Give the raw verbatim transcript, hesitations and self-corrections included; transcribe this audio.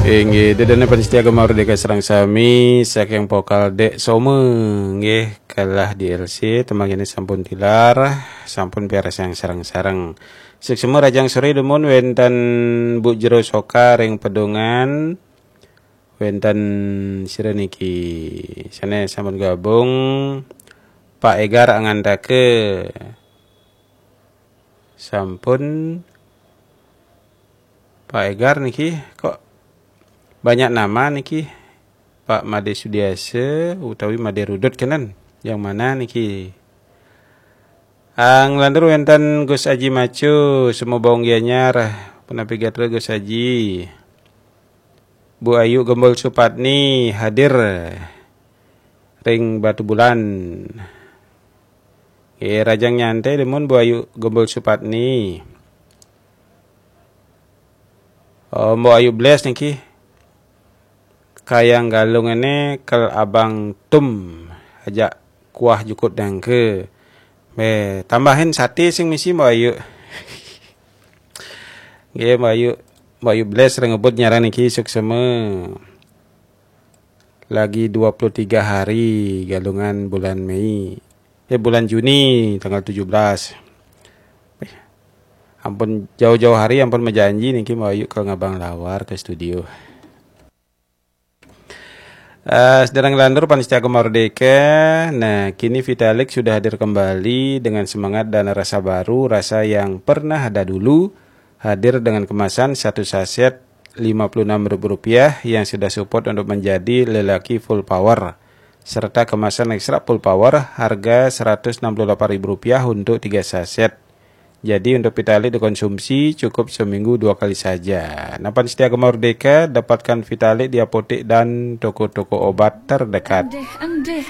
Inggih, ida dané pamiarsa Gema Merdeka sareng sami, saking Pokal Dék Soma, nggih, kalah di L C, tembang ini sampun tilar, sampun piarsang sareng-sareng. Suksma rahajeng soré dumun wénten Bu Jero Soka ring Pedungan, wénten sira niki, sané sampun gabung, Pak Egar Angantaka, sampun Pak Egar niki kok banyak nama niki. Pak Made Sudiasa utawi Made Rudut kenen. Yang mana niki? Ang lantur wénten Gus Aji Macu, Sumobong Gianyar, punapi gatra Gus Aji. Bu Ayu Gembul Supatni hadir ring Batubulan. Nggih, rahajeng nyantai dumun Bu Ayu Gembul Supatni. Oh, Mbok Ayu Bless niki. Kayang Galungané kel Abang Tum ajak kuah jukut dangka. Bé, tambahin saté sing misi Mbok Ayu. Nggih, Mbok Ayu, Mbok Ayu Bless ring ngebut nyaran niki suksma. Lagi dua puluh tiga hari Galungan bulan Mei. Eh, bulan Juni tanggal tujuh belas. Eh, ampun jauh-jauh hari, ampun majanji niki Mbok Ayu ke ngabang lawar ke studio. Eh, sedang lantur pamiarsa Gema Merdeka. Nah, kini Vitalik sudah hadir kembali dengan semangat dan rasa baru, rasa yang pernah ada dulu, hadir dengan kemasan satu saset lima puluh enam ribu rupiah yang sudah support untuk menjadi lelaki full power, serta kemasan ekstra full power harga seratus enam puluh delapan ribu rupiah untuk tiga saset. Jadi, untuk Vitalik dikonsumsi cukup seminggu dua kali saja. Nah, pamiarsa Gema Merdeka, dapatkan Vitalik di apotek dan toko-toko obat terdekat. Endih, endih,